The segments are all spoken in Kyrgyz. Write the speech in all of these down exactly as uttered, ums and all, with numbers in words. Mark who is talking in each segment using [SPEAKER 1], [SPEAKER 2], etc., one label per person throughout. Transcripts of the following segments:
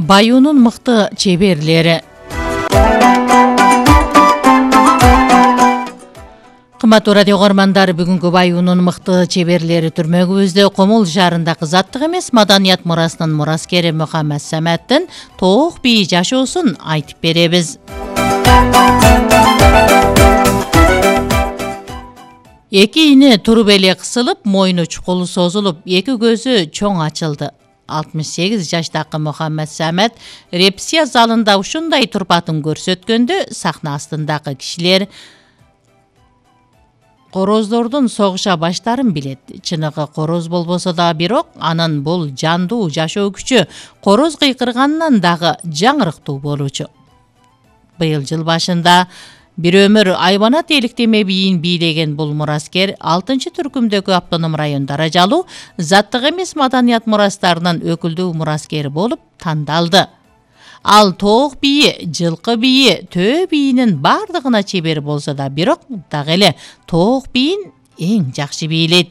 [SPEAKER 1] Баюунун мыкты чеберлери. Кымбаттуу радио көрөрмандар, бүгүнкү Баюунун мыкты чеберлери түрмөгүбүздө Комул шаарындагы заттык эмес маданият мурасынын мураскери Мухаммад Саматтын тоок бийи жашоосун айтып беребиз. Эки ини туруп эле кысылып, мойну чукул созулуп, эки көзү чоң ачылды. алтымыш сегиз жаштагы Мухаммад Самат репрессия залында ушундай турпатын көрсөткөндө сахна астындагы кишилер короздордун согуша баштарын билет. Чыныгы короз болбосо да, бирок анын бул жандуу жашоо күчү короз кыйкырганынан дагы жаңырыктуу болчу. Быйыл жыл башында бир өмүр айбанат эликтеме бийин бийлеген бул мураскер алтынчы түркүмдөгү автоном район даражалуу заттык эмес маданият мурастарынын өкүлдүү мураскери болуп тандалды. Ал тоок бийи, жылкы бийи, төө бийинин бардыгына чебер болсо да, бирок дагы эле тоок бийин эң жакшы бийлейт.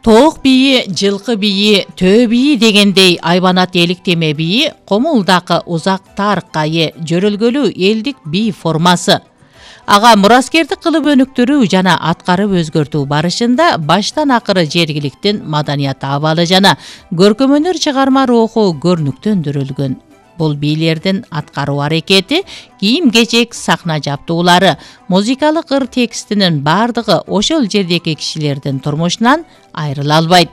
[SPEAKER 1] Тоок бийи, жылкы бийи, төө бийи дегендей айбанат эликтеме бийи Комулдагы узак тарыхка ээ жөрөлгөлүү элдик бий формасы. Ага мураскердик кылып өнүктүрүү жана аткарып өзгөртүү барышында баштан акыры жергиликтин маданият абалы жана көркөмөнөр чыгарма руху көрнүктөндүрүлгөн. Бул бийлердин аткаруу аракети, кийим-кечек, сахна жаптуулары, музыкалык ыр текстинин бардыгы ошол жердеги кишилердин турмушунан айрыла албайт.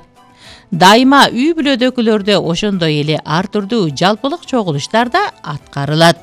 [SPEAKER 1] Дайыма үй бүлөдөгүлөрдө ошондой эле ар түрдүү жалпылык чогулуштар да аткарылат.